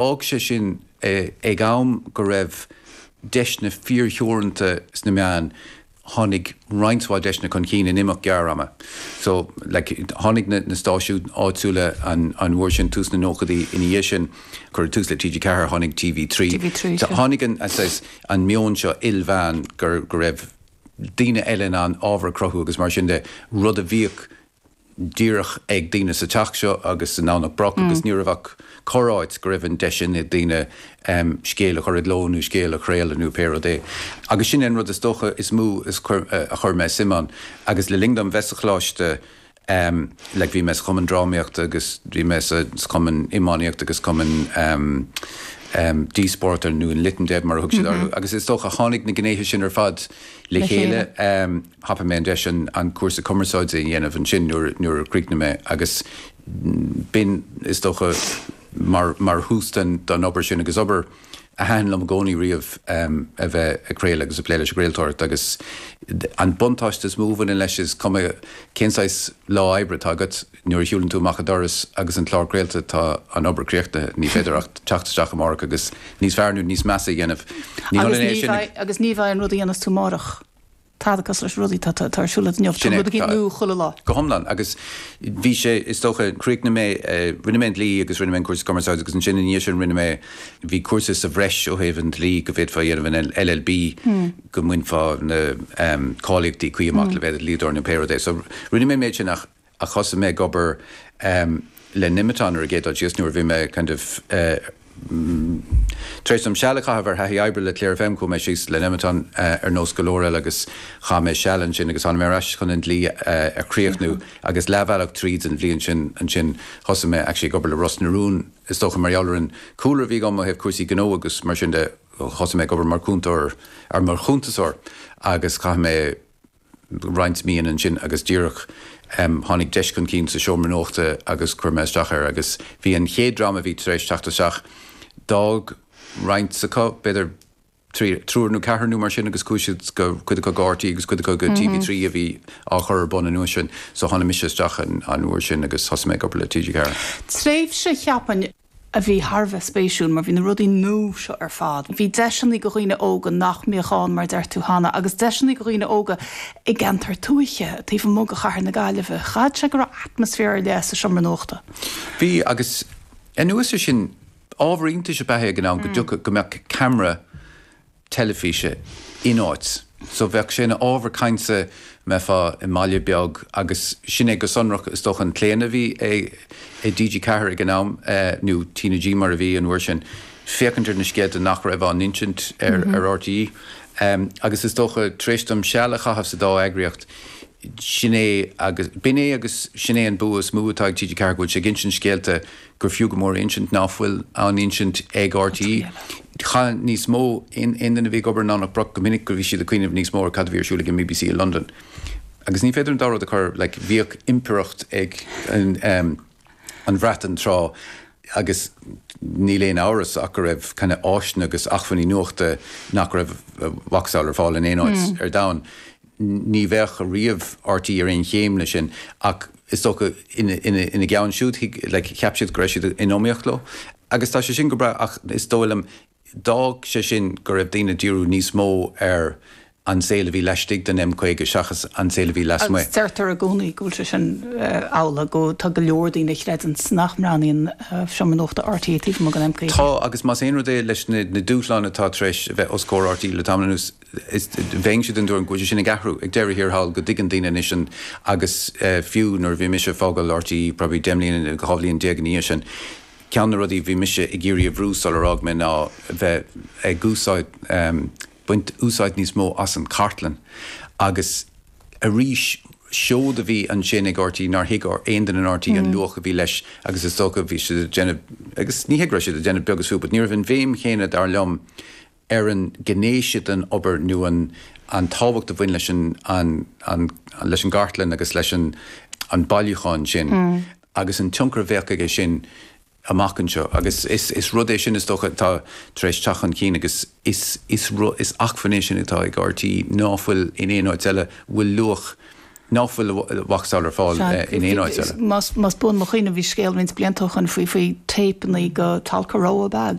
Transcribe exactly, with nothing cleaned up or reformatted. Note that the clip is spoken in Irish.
D'fhág sé sin ag am go raibh deiseanna fíortheoranta sna meáin, tháinig roinnt mhaith deiseanna chun cinn in imeacht gearr ama. So like, tháinig na, na stáisiúin áitiúla an, an uair sin tús na nóchaidí ina dhiaidh sin, cuireadh tús le T G Ceathair, tháinig T V trí. T V trí. So, tháinig an, an meon seo ilmheán gur go raibh daoine eile in ann ábhar a chruthú agus mar sin de, rud a bhíodh díreach ag daoine sa teach seo agus san Domhnach Broc mm. agus ní raibh ach corráit go raibh an deis sin ag daoine um, scéal a chur i gcló nó scéal a chraoladh nó pé rud é. Agus sin an rud is dócha is mó is chur, uh, a chuir mé suim ann. Agus le linn dom bheith sa choláiste um, le bhí mé sa chumann drámaíochta agus bhí mé sa chumann iománaíochta agus cumann um, um, díospóireachta nó an Lit and Dev mar a thug siad mm -hmm. agus is dócha tháinig na gnéithe sin ar fad le chéile um, thapaigh mé an deis an, an cúrsa cumarsáide a dhéanamh ansin nuair nuair a chríochnaigh mé agus b'in is dócha mar, mar thús den don obair sin agus obair a thaitin liom i gcónaí riamh um, a bheith ag craoladh agus ag plé leis an gcraoltóireacht agus an buntáiste is mó a bhaineann leis is cuma cén saghas lá oibre atá agat nuair a shiúlann tú amach an doras agus an clár craolta tá an obair críochnaithe ní féidir ach teacht isteach amárach agus níos fearr nó níos measa a dhéanamh. Agus ní bheidh an rud a dhéanfas tú amárach. Tá cos leis rudaí tá ar siúl inniu nó chuile lá. Go hiomlán agus bhí sé is dócha chríochnaigh mé rinne mé dlí agus rinne mé cúrsa cumarsáide agus ansin ní sin rinne mé bhí cúrsa sa bhreis ó thaobh an dlí go bhféadfá a dhéanamh an L L B go mbainfeá na um, cáilíochtaí cuí amach le bheith dlíodóir nó pé rud é. So rinne mé méid sin ach a thosaigh mé ag obair um, le Nemeton ar an gcéad dul síos nuair bhí mé kind of uh, Tar éis dom seal a chaitheamh ar thaithí oibre le Clare F M chuaigh mé síos le Nemeton uh, ar nós go leor eile agus chaith mé seal ansin agus tháinig mé ar ais chun an dlí uh, a chríochnú agus leathbhealach tríd an bhliain sin ansin thosaigh mé actually ag obair le Ros na Rún is dócha mar gheall ar an cúlra a bhí agam ó thaobh cúrsaí gnó agus mar sin de thosaigh mé ag obair mar chúntóir ar mar chuntasóir agus chaith mé roinnt mí ansin agus díreach um, tháinig deis chun cinn sa seomra nuachta agus chuir mé isteach air agus bhí an chéad dream a bhí tar éis teacht isteach d'fhág roinnt acu b'fhéidir triúr nó ceathrar nó mar sin agus chuaigh siad go cuid acu go R T É agus cuid acu go T V trí a bhí á chur ar bun an uair sin so tháinig mise isteach an, an uair sin agus thosaigh mé ag obair le T G Ceathair. Tréimhse cheapfainn a bhí thar a bheith spéisiúil mar bhí na rudaí nua seo ar fad. Bhí deiseanna do dhaoine óga nach mbíodh ann mar deir tú cheana, agus deiseanna do dhaoine óga i gceantar tuaithe taobh amuigh de chathair na Gaillimhe. Chaithfeadh sé go raibh atmaisféar ar leith sa seomra nuachta. Bhí agus anuas air sin ábhar iontais ab ea é ag an am go dtiocfadh go mbeadh ceamara teilifíse in áit. So bheadh sé ina ábhar cainte mbeifeá i mbaile beag agus sin é go sonrach is dócha an claonadh a bhí ag ag D G Ceathair ag an am eh, nó T N G mar a bhí an uair sin féachaint ar na scéalta nach raibh á n-insint ar, mm -hmm. ar R T É. Um, agus is dócha tar éis dom seal a chaitheamh sa dá eagraíocht sin é agus b'in é agus sin é an bua is mó atá ag T G Ceathair go bhfuil sé ag insint scéalta gur fiú go mór insint nach bhfuil á n-insint ag R T É. Cha níos mó in in a bhí ag obair ná Broc go minic go bhí siad ag cuimhneamh níos mó ar cad a bhí ar siúl ag an B B C i London. Agus ní féidir an dá rud a chur le bhíodh impireacht ag an, um, an Bhreatain tráth agus níl aon amhras ach go raibh kind of áiseanna agus acmhainní nuachta nach raibh macasamhail ar fáil in aon áit mm. ar domhan. Ní bheadh riamh R T É ar aon chéim le sin ach is dócha ina ina gceann siúd like, cheap siad go raibh siad in iomaíocht leo. Agus tá sé sin go breá ach is dóigh liom d'fhág sé sin go raibh daoine díriú níos mó ar an saol a bhí laistigh den M caoga seachas an saol a bhí lasmuigh. Agus deirtear i gcónaí go bhfuil sé sin amhlaidh go tá go leor daoine a chreideann nach mbreathnaíonn seomra nuachta R T É taobh amuigh den M caoga. Tá agus más aon rud é leis na, na dúshláin atá tar éis a bheith os comhair R T É le tamall anuas bheinn den tuairim go bhfuil sé sin ag athrú ag deireadh thiar thall go dtuigeann daoine anois an agus uh, fiú nuair bhí mise ag fágáil R T É probably deich mbliana dhá bhliain déag ina dhiaidh sin. Ceann na rudaí bhí mise ag iarraidh a bhrú sular fhág mé ná bheith ag úsáid um, baint úsáid níos mó as an cartlann agus arís seod a bhí ansin ag R T É nár thuig aon duine in R T É an luach a bhí leis agus is dócha bhí siad ag déanamh agus ní hé go raibh siad ag déanamh beag is fiú, but ní raibh an bhéim chéanna dar liom ar an ngné sin den obair nó an an tábhacht a bhain leis an, an, an, leis an gcartlann agus leis an, an bailiúchán sin mm. agus an tionchar a bheadh aige sin amach anseo agus is, is rud é sin is dócha tá tar éis teacht chun cinn agus is, is, is acmhainn é sin atá ag R T É ná fuil in aon áit eile bhfuil luach Nach bhfuil a mhacasamhail ar fáil in aon áit eile. Más buan mo chuimhne bhí scéal roinnt blianta ó shin faoi faoi téipeanna go Tolkaroa bag.